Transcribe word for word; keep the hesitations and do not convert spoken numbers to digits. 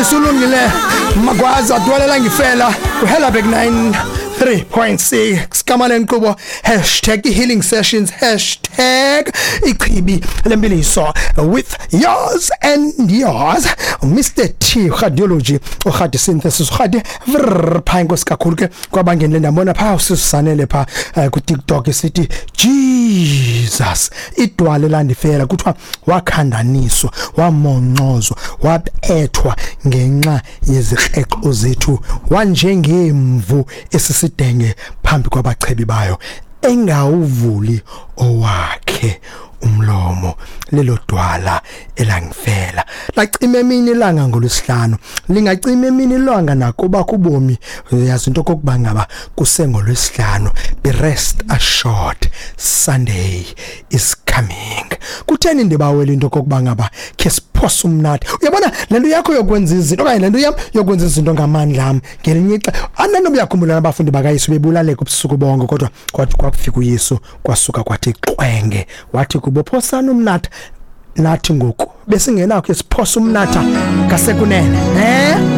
Sisulungile Magwaza dwalela ngifela kuHelabek nine three point six kama lenkqubo hashtag healing sessions hashtag ichibi lempiliso with yours and yours, Mister T Radiology, uRadi Synthesis, uRadi vrr pha. Inkosi kakhulu ke kwabangenile, ndabona pha usisanele pha eh, ku TikTok sithi Jesus idwale landifela. Kuthiwa wakhandaniswa, wamoncozwa, wabethwa ngenxa yezikreqo zethu, wanjengemvu esisidenge phambi kwabachebi bayo, engawuvuli owakhe umlomo. Lelo dwala elangifela lacima emini ilanga ngolwesihlanu, lingacima emini ilanga nakuba kubomi. Yazi into kokuba ngaba kusengolwesihlanu, be rest assured, Sunday is coming. Kutheni ndibawela into kokuba ngaba khe siphose umnatha? Uyabona le nto yakho yokwenza izinto okanye le nto yam yokwenza izinto ngamandla am, ngelinye ixa ananoba uyakhumbula abafundi bakaYesu bebulaleka ubusuku bonke, kodwa kwathi kwakufika uYesu kwasuka kwathi qwenge, wathi kubo, "Phosani umnatha." Nathi ngoku besingenakho isiphosa umnatha ngasekunene, eh.